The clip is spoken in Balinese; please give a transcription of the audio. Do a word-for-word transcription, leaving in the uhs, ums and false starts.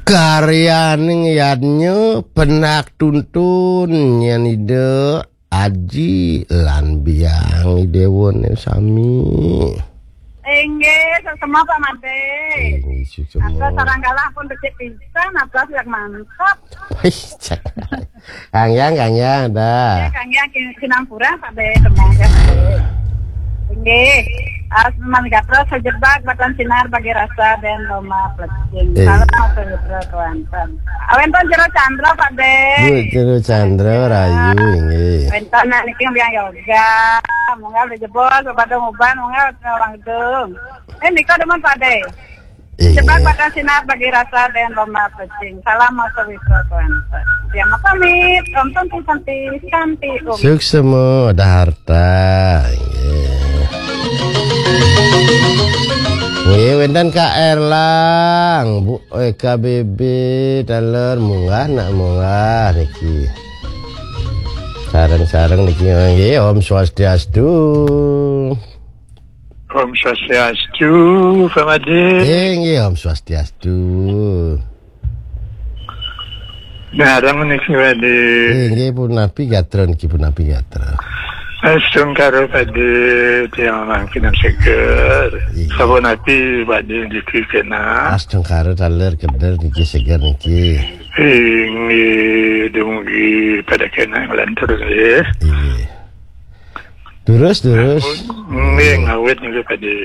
Karyaning yadnya penak tuntun nyen Ida Aji lan Biang Idéwané sami. Inggih, suksma Pak Madé. Inggih, suksma. Atur sareng kalih pun becik pisan, atur yang mantap. Wih, cak. Kang Yang, Kang Yang, dah. Ya, Kang Yang, kin-, kinang kurang, Pak Dé, teman, ya, Pak Dé. Inggih. Asman Gatra sejebak batan sinar bagi rasa dan Roma Plecing. Eh. Salam Mas Putra Kelantan. Wénten Jero Chandra, Pak Dé. Bu, Jero Chandra, rayu, inggih. Wénten niki yang yoga. Munggah udah jebol, pada nguban, munggah orang gedung. Eh, nika demen, Pak Dé. Iya. Sebab pada sinar bagi rasa dan Roma Plecing. Salam Mas Witra Kuantan. Ya, mau pamit. Om Santi, Santi, Santi, Om. Suksma, ada harta. Iya. Nggih, wénten Kak Erlang, Bu, eh, K B B, taler, munggah, nak munggah, niki. Sareng-sareng niki, nggih, Om Swastiastu. Om Swastiastu, Pak Madé. Eh, nggih, Om Swastiastu. Ngarang niki, Pak Madé. Eh, nggih, punapi gatra niki, punapi gatra. Astungkara, Pak Madé, tiang mangkin seger. Iya. Sapunapi, Pak Madé, niki kena. Astungkara taler keder niki seger niki. Inggih, dumugi pada kena nglantur nggih. Inggih. Terus, terus. Nggih, ngawit niki, Pak Madé.